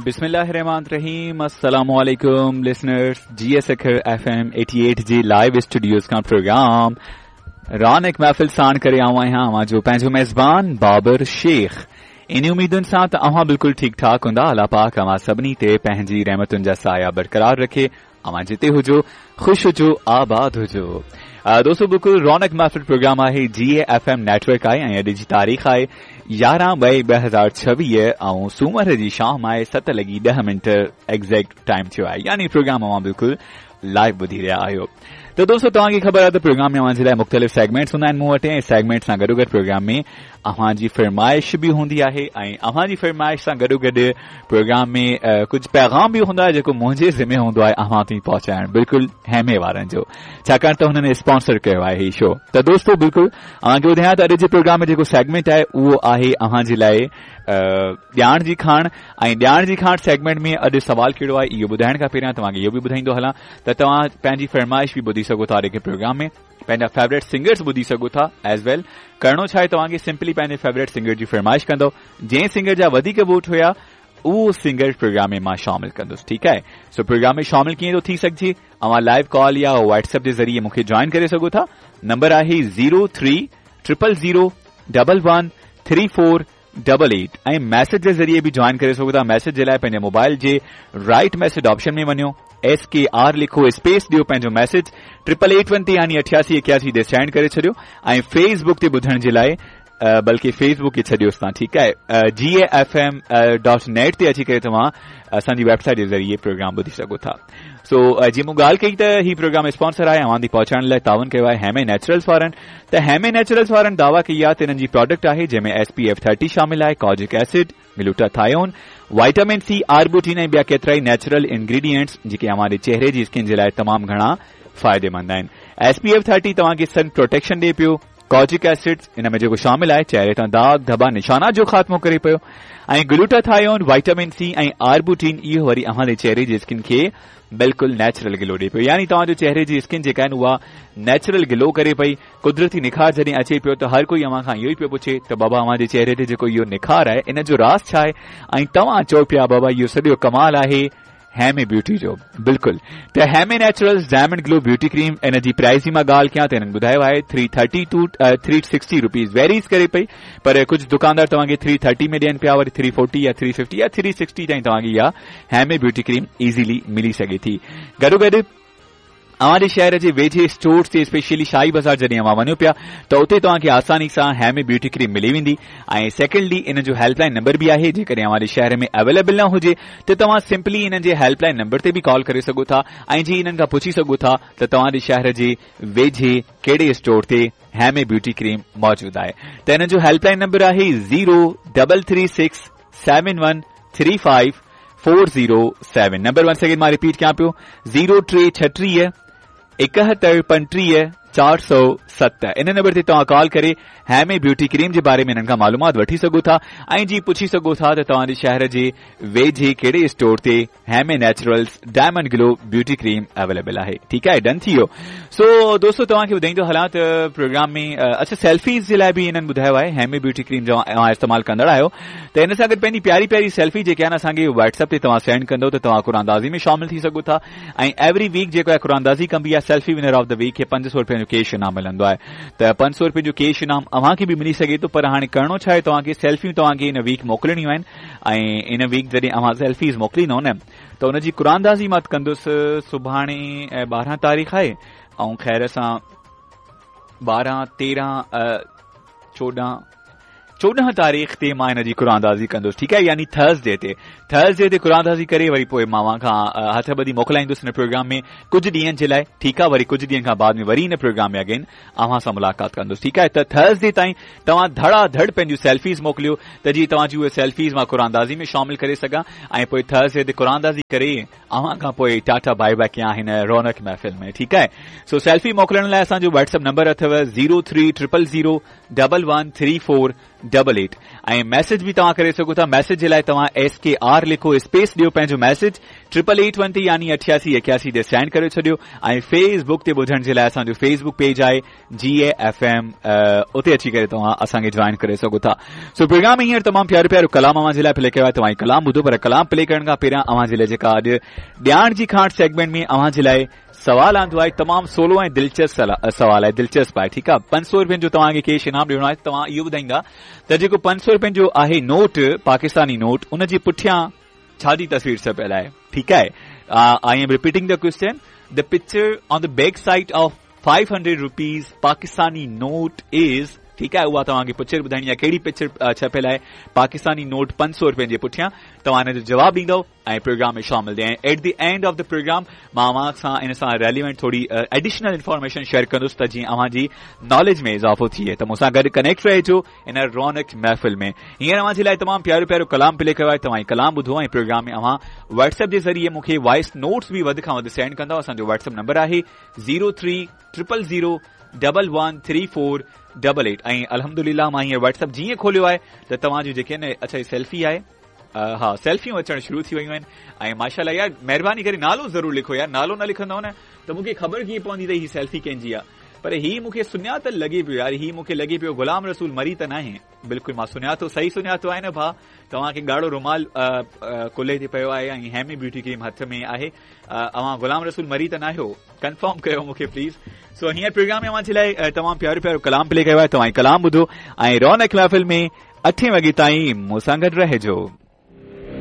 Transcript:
बिस्मिल्लाहिर्रहमानिर्रहीम। अस्सलाम वालेकुम listeners, G S Sukkur FM 88 जी लाइव स्टूडियोज खां प्रोग्राम रौनक महफ़िल साण करे आऊं आहियां अव्हां जो पंहिंजो मेज़बान बाबर शेख। इन उम्मीदुनि सां त अव्हां बिल्कुलु ठीकु ठाक हूंदा। अलाह पाक अव्हां सभिनी ते पंहिंजी रहमतुनि जा साया बरक़रार रखे। अव्हां जिते हुजो ख़ुशि हुजो, आबाद हुजो। दोस्तो, बिल्कुलु रौनक महफ़िल प्रोग्राम आहे, जी एफ एम नेटवर्क आहे ऐं अॼु जी तारीख़ आहे 11/2/2026 ऐं सूमर जी शाम आहे 7:10 एग्ज़ैक्ट टाइम थियो आहे, यानी प्रोग्राम अव्हां बिल्कुलु लाइव ॿुधी रहिया आहियो। त दोस्तो, तव्हांखे ख़बर आहे त प्रोग्राम में अव्हां जे लाइ मुख़्तलिफ़ सेगमेंट्स हूंदा आहिनि मूं वटि ऐं सेगमेंट सां गॾोगॾु प्रोग्राम में अव्हां जी फरमाइश बि हूंदी आहे ऐं अव्हां जी फरमाइश सां गॾोगॾु प्रोग्राम में कुझु पैगाम बि हूंदो आहे जेको मुंहिंजे ज़िमे हूंदो आहे अव्हां ताईं पहुचाइण, बिल्कुलु हेमे वारनि जो, छाकाणि त हुननि स्पॉन्सर कयो आहे हीउ शो। त दोस्तो, बिल्कुलु अव्हांखे ॿुधायां त अॼु जे प्रोग्राम में जेको सेगमेंट आहे उहो आहे अव्हां जे लाइ ॼाण जी खाण। ऐं ॼाण जी खाण सेगमेंट में अॼु सवाल कहिड़ो आहे इहो ॿुधाइण खां पहिरियां तव्हांखे इहो बि ॿुधाईंदो हलां त तव्हां पंहिंजी फरमाइश बि ॿुधी सघो था अॼु प्रोग्राम में, पंहिंजा फेवरेट सिंगर्स ॿुधी सघो था एज वेल। करिणो छा आहे तव्हांखे, सिंपली पंहिंजे फेवरेट सिंगर जी फरमाइश कंदव, जंहिं सिंगर जा वधीक वोट हुया उहो सिंगर प्रोग्राम में मां शामिल कंदुसि, ठीकु आहे। सो प्रोग्राम में शामिल कीअं थो थी सघिजे, अव्हां लाइव कॉल या व्हाट्सएप जे ज़रिए मूंखे जॉइन करे सघो था। नंबर आहे 03 000 11 3 4 88 ऐं मैसेज जे ज़रिए बि जॉइन करे सघो था। मैसेज जे लाइ पंहिंजे मोबाइल जे राइट मैसेज ऑप्शन में वञो, SKR लिखो, स्पेस ॾियो, पंहिंजो मैसेज 8881 ते यानी 8881 ते सेंड करे छॾियो। ऐं फेसबुक ते ॿुधण जे लाइ, बल्कि फेसबुक खे छॾियोसि तव्हां, ठीकु आहे, gafm.net ते अची करे तव्हां असांजी वेबसाइट जे ज़रिए प्रोग्राम ॿुधी सघो था। सो जीअं मूं ॻाल्हि कई त हीउ प्रोग्राम स्पॉन्सर आहे, अव्हां ताईं पहुचाइण लाइ ताउन कयो आहे हेमे नेचुरल्स वारनि। त हेमे नेचुरल्स वारनि दावा कई आहे त हिननि जी प्रोडक्ट आहे जंहिंमें SPF 30 शामिल आहे, kojic acid, glutathione, vitamin C, arbutin ऐं ॿिया केतिरा ई नेचुरल इंग्रीडियंट्स जेके अव्हां चेहरे जी स्किन जे लाइ तमामु घणा फ़ाइदेमंद आहिनि। SPF 30 तव्हांखे सन प्रोटेक्शन ॾिए पियो, कॉजिक एसिड इन में जेको शामिल आहे चेहरे तां दाग धब्बा निशाना जो ख़ात्मो करे पियो ऐं ग्लूटाथायोन, वाइटामिन सी ऐं आर्बुटीन इहो वरी अव्हांजे चेहरे जी स्किन खे बिल्कुलु नेचुरल ग्लो ॾिए पियो, यानी तव्हांजो चेहरे जी स्किन जेका आहे उहा नेचुरल ग्लो करे पई। कुदरती निखार जॾहिं अचे पियो त हर कोई अव्हां खां इहो ई पियो पुछे त बाबा अव्हांजे चेहरे ते जेको इहो निखार आहे इन जो राज़ छा आहे, ऐं तव्हां चओ पिया बाबा इहो सॼो कमाल आहे हेमे ब्यूटी जो। बिल्कुलु, त Heme Naturals diamond glow beauty cream इन जी प्राइस जी मां ॻाल्हि कयां त हिननि ॿुधायो आहे 330 टू 360 रुपीज़ वेरीज़ करे पई, पर कुझु दुकानदार तव्हांखे 330 में ॾियनि पिया, वरी 340 या 350 या 360 ताईं तव्हांखे इहा हेमे ब्यूटी क्रीम ईज़िली मिली सघे थी। गॾोगॾु अव्हांजे शहर जे वेझे स्टोर्स ते स्पेशली शाही बाज़ार जॾहिं अव्हां वञो पिया त उते तव्हांखे आसानी सां हेमे ब्यूटी क्रीम मिली वेंदी। ऐं सेकेंडली इन जो हेल्पलाइन नंबर बि आहे, जेकॾहिं अव्हांजे शहर में अवेलेबल न हुजे त तव्हां सिंपली इन्हनि जे हेल्पलाइन नंबर ते बि कॉल करे सघो था ऐं जी इन्हनि खां पुछी सघो था त तव्हांजे शहर जे वेझे कहिड़े स्टोर ते हेमे ब्यूटी क्रीम मौजूदु आहे। त हिन जो हेल्पलाइन नंबर आहे 0336 71 35 407। नंबर वन सेकेंड मां रिपीट कयां पियो, 0336 71 35 407। इन नंबर ते तव्हां कॉल करे हेमे ब्यूटी क्रीम जे बारे में हिननि खां मालूमात वठी सघो था ऐं जी पुछी सघो था त तव्हांजे शहर जे वेझे कहिड़े स्टोर ते Heme Naturals diamond glow beauty cream available आहे। ठीकु आहे, डन थी वियो। सो दोस्तो, तव्हांखे ॿुधाईंदो हलां त प्रोग्राम में अच्छा सेल्फीज़ जे लाइ बि हिननि ॿुधायो आहे, हेमे ब्यूटी क्रीम जो तव्हां इस्तेमालु कंदड़ आहियो त हिन सां गॾु पंहिंजी प्यारी प्यारी सेल्फी जेके आहिनि असांखे व्हाट्सएप ते तव्हां सेंड कंदव त तव्हां कुरानदाज़ी में शामिल थी सघो था। ऐं एवरी वीक जेको आहे कुरानदाज़ी कंबी आहे, selfie winner of the week खे 500 रुपये जो कैश इनाम मिलंदो आहे। त 500 रुपये जो कैश इनाम अव्हांखे बि मिली सघे थो, पर हाणे करिणो छा आहे, तव्हांखे सेल्फियूं तव्हांखे इन वीक मोकिलणियूं आहिनि ऐं इन वीक जॾहिं अव्हां सेल्फीज़ मोकिलींदव न त हुनजी कुरानदाज़ी मां कंदुसि। सुभाणे 12 तारीख़ आहे ऐं ख़ैर सां 12 13 14 तारीख़ ते मां हिन जी कुरानदाज़ी कंदुसि, ठीकु आहे, यानी थर्सडे ते कुरानदाज़ी करे वरी पोइ मां अव्हां खां हथ ॿधी मोकिलाईंदुसि हिन प्रोग्राम में कुझु ॾींहनि जे लाइ, ठीकु आहे। वरी कुझु ॾींहनि खां बाद में वरी हिन प्रोग्राम में अगेन अव्हां सां मुलाक़ात कंदुसि, ठीकु आहे। त थर्सडे ताईं तव्हां धड़ाधड़ पंहिंजूं सेल्फीज़ मोकिलियो त जीअं तव्हांजी उहे सेल्फीज़ मां कुरानदाज़ी में शामिल करे सघां ऐं पोइ थर्सडे ते कुरानदाज़ी करे अव्हां खां पोइ टाटा बाय बाय कयां हिन रौनक महफ़िल में, ठीकु आहे। सो सेल्फी मोकिलण लाइ असांजो व्हाट्सएप नंबर अथव 03 000 11 3 4 ڊبل ايٽ ۽ ميسيج به توهان ڪري سگهو ٿا ميسيج جي لاء توهان ايس ڪي آر لکو اسپيس ڏيو پنهنجو ميسيج ٽرپل ايٽ ون تي يعني اٺياسي ايڪياسي تي سينڊ ڪري ڇڏيو ۽ فيس بڪ تي ٻڌڻ جي لاء اسان جو فيس بڪ پيج آهي جي اي ايف ايم اتي اچي ڪري توهان اسان کي جوائن ڪري سگهو ٿا. سو پروگرام ۾ هينئر تمام پيارو پيارو ڪلام اوهان جي لاء پلي ڪيو آهي توهان هي ڪلام ٻڌو پر ڪلام پلي ڪرڻ کان پهريان اوهان جي لاء جيڪا اڄ ڄاڻ جي کاڻ سيگمينٽ ۾ اوهان جي لاء سوال آندو آهي تمام سولو ۽ دلچسپ سوال آهي دلچسپ آهي ٺيڪ آهي 500 روپين جو توهان کي ڪيش انعام ڏيڻو آهي توهان اهو ٻڌائيندا ته جيڪو 500 روپين جو آهي نوٽ پاڪستاني نوٽ ان جي پٺيان ڇا جي تصوير ڇپيل آهي ٺيڪ آهي I am repeating the question the picture on the back side of 500 rupees Pakistani note is ٺيڪ آهي اها توهان کي پڪچر ٻڌائڻي آهي ڪهڙي پڪچر ڇپيل آهي پاڪستاني نوٽ 500 روپين جي پٺيان توهان ان جو جواب ڏيندو ۽ پروگرام ۾ شامل ٿي ۽ at the end of the programme مان اوهان سان ان سان ريليونٽ ٿوري ايڊيشنل انفارميشن شيئر ڪندس ته جيئن اوهان جي ناليج ۾ اضافو ٿئي ته مون سان گڏ ڪنيڪٽ رهجو ان رونق محفل ۾ هينئر اوهان جي لاء تمام پيارو پيارو ڪلام پلي ڪيو آهي توهان هي ڪلام ٻڌو ۽ پروگرام ۾ اوهان واٽس ايپ جي ذريعي مون کي وائس نوٽس به وڌ کان وڌ سينڊ ڪندؤ اسان جو واٽس ايپ نمبر آهي zero three triple zero double one three four double eight ۽ الحمدلله مان هينئر واٽس ايپ جيئن کوليو آهي ته توهان جون جيڪي آهن اڇا هي سيلفي آهي ها سيلفيون اچڻ شروع ٿي ويون آهن ۽ ماشاءالله يار مهرباني ڪري نالو ضرور لکو يار نالو نه لکندؤ نه ته مونکي خبر ڪيئن پوندي ته هي سيلفي ڪنهن جي آهي پر هي مونکي سڃاتل لڳي پيو يار هي مونکي لڳي پيو غلام رسول مري ته ناهي بلڪل مان سڃاتو صحيح سڃاتو آهي نه ڀاء توهان کي ڳاڙهو رومال ڪلهي تي پيو آهي ۽ هيمي بيوٽي ڪريم هٿ ۾ آهي اوهان غلام رسول مري ته ناهيو ڪنفرم ڪيو مونکي پليز سو هينئر پروگرام ۾ اوهان جي لاء تمام پيارو پيارو ڪلام پلي ڪيو آهي توهان ڪلام ٻڌو ۽ رونق محفل ۾ اٺين وڳي تائين مون سان گڏ رهجو.